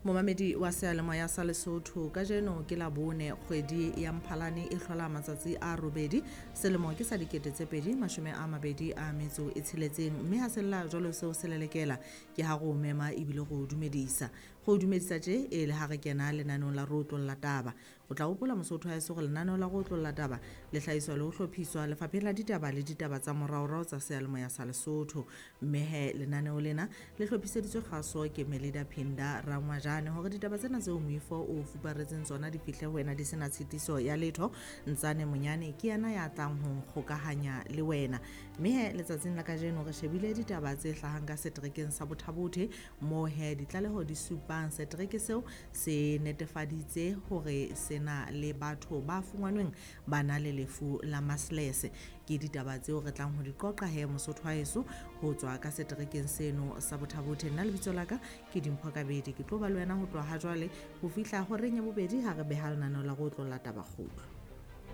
Momamedi wa seyalemoya sa Lesotho, kajeno ke Labone, kgwedi ya Mphalane e hlola matsatsi a robedi, selemo ke sa 2026, mme ha sella jwalo seo se lelekela ke ha re o mema ebile re o dumedisa. Re o dumedisa tje e le ha re kena lenaneong la Re Otlolla Taba. O tla hopola Mosotho haeso hore lenaneo la Re Otlolla Taba le hlahiswa le ho hlophiswa Lefapheng la Ditaba le Ditaba tsa Moraorao tsa Seyalemoya sa Lesotho. Mme he lenaneo lena le hlophiseditswe kgaso ke Melida Phinda Rangwajane hore ditaba tsena tseo moifo o fuparetseng tsona di fihle ho wena di sena tshitiso ya letho. Ntsane Monyane ke yena ya tlang ho nkgokahanya le wena. Mme he letsatsing la kajeno re shebile ditaba tse hlahang ka seterekeng sa Bothabothe, moo he ditlaleho di supang setereke seo se netefaditse hore se na le batho ba fungwanweng ba na le lefu la maslese. Ke ditaba tseo re tlang ho di qoqa he Mosotho wa heso ho tswa ka seterekeng seno sa Bothabothe. Nna lebitso la ka ke Dimpho Kabedi, ke tlo ba le wena ho tloha ha jwale ho fihla horeng ya bobedi ha re beha lenaneo la Re Otlolla Taba kgutlo.